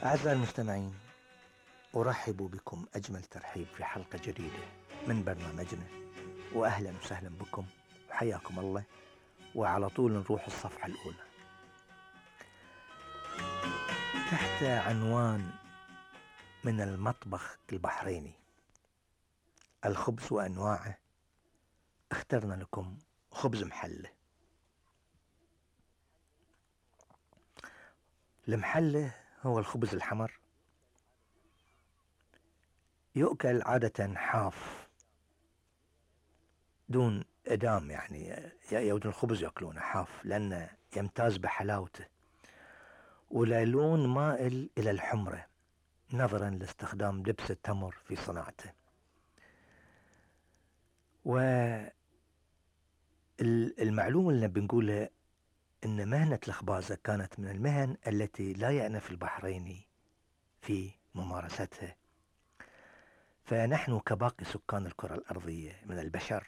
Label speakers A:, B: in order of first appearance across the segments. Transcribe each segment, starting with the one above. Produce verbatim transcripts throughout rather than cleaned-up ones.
A: أعزائي المستمعين، أرحب بكم أجمل ترحيب في حلقة جديدة من برنامجنا، وأهلا وسهلا بكم وحياكم الله. وعلى طول نروح الصفحة الأولى تحت عنوان من المطبخ البحريني: الخبز وأنواعه. اخترنا لكم خبز محلة. المحلة هو الخبز الحمر، يؤكل عادة حاف دون إدام، يعني يود الخبز يأكلونه حاف لأنه يمتاز بحلاوته ولون مائل إلى الحمرة نظرا لاستخدام دبس التمر في صناعته. والمعلومة اللي بنقولها إن مهنة الخبازة كانت من المهن التي لا يأنف البحريني في ممارستها، فنحن كباقي سكان الكرة الأرضية من البشر،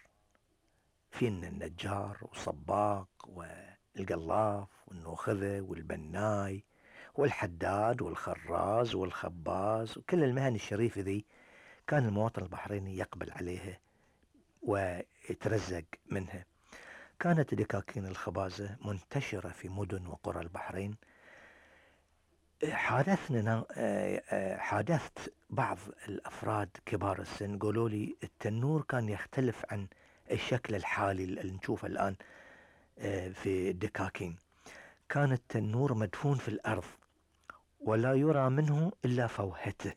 A: فينا النجار وصباق والقلاف والنوخذة والبناي والحداد والخراز والخباز، وكل المهن الشريفة ذي كان المواطن البحريني يقبل عليها ويترزق منها. كانت دكاكين الخبازة منتشرة في مدن وقرى البحرين. حادثنا حادثت بعض الأفراد كبار السن قالوا لي التنور كان يختلف عن الشكل الحالي اللي نشوفه الآن في الدكاكين. كان التنور مدفون في الأرض ولا يرى منه إلا فوهته،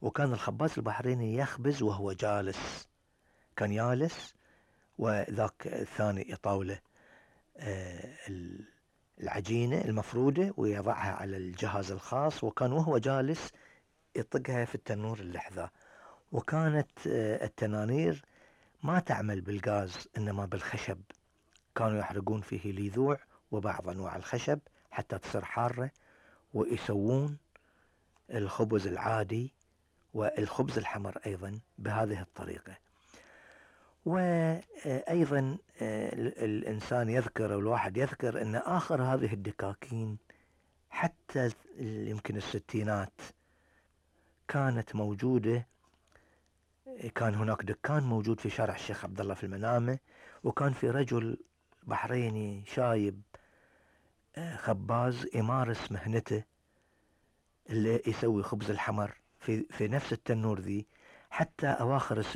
A: وكان الخباز البحريني يخبز وهو جالس، كان جالس وذاك الثاني يطاوله العجينة المفرودة ويضعها على الجهاز الخاص، وكان وهو جالس يطقها في التنور اللحظة. وكانت التنانير ما تعمل بالغاز إنما بالخشب، كانوا يحرقون فيه ليذوع وبعض أنواع الخشب حتى تصير حارة، ويسوون الخبز العادي والخبز الحمر أيضا بهذه الطريقة. وأيضا الإنسان يذكر، الواحد يذكر أن آخر هذه الدكاكين حتى يمكن الستينات كانت موجودة. كان هناك دكان موجود في شارع الشيخ عبد الله في المنامة، وكان في رجل بحريني شايب خباز يمارس مهنته اللي يسوي خبز الحمر في في نفس التنور ذي حتى أواخر الستينات.